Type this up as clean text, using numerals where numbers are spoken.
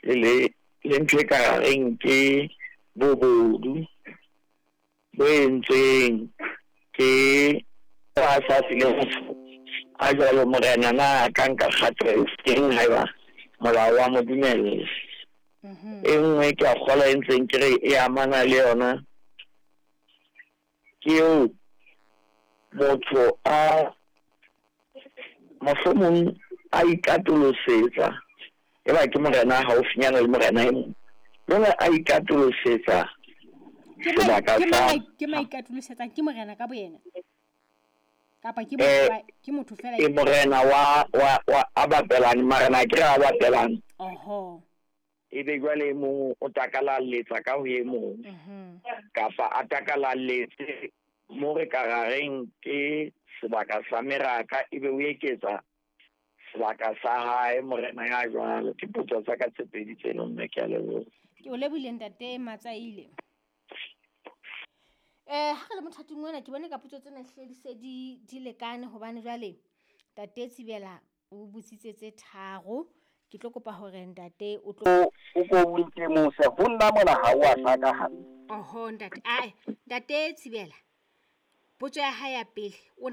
Le ntho e ka reng ke bobodu bo entsweng ke a sa file motho a jwalo morena na a ka nka kgato e feng haeba molao wa mo dumella. E nngwe ke a kgolwa e ntseng ke re e amana le yona ke eo motho a mohlomong a ikatolosetsa e ba ke morena a haufinyana le morena e mong jwale a ikatolosetsa sebaka sa ke maikatolosetsang ke morena ka boyena kapa ke ke motho fela e morena wa wa wa a bapelane marena ke re a bapelane oho e be jwale e mong o takalalletsa ka ho e mong kapa a takalaletse mo re ka ra reng ke sebaka sa meraka e be o eketsa sebaka sa hae morena ya jwalo. Ke potso tsa ka tse pedi tseno mme ke a leboha. Ke o lebohile ntate Matsaile. Eh ha re le mothating ona ke bone ka potso tsena hle di se di di lekane hobane jwale ntate Tsibela o botsitse tse tharo. Ke tlo kopa hore ntate o tlo O ko o ntemose ho nna mona ha o a hlaka hantle. Oho ntate ae ntate Tsibela potso ya hae ya pele o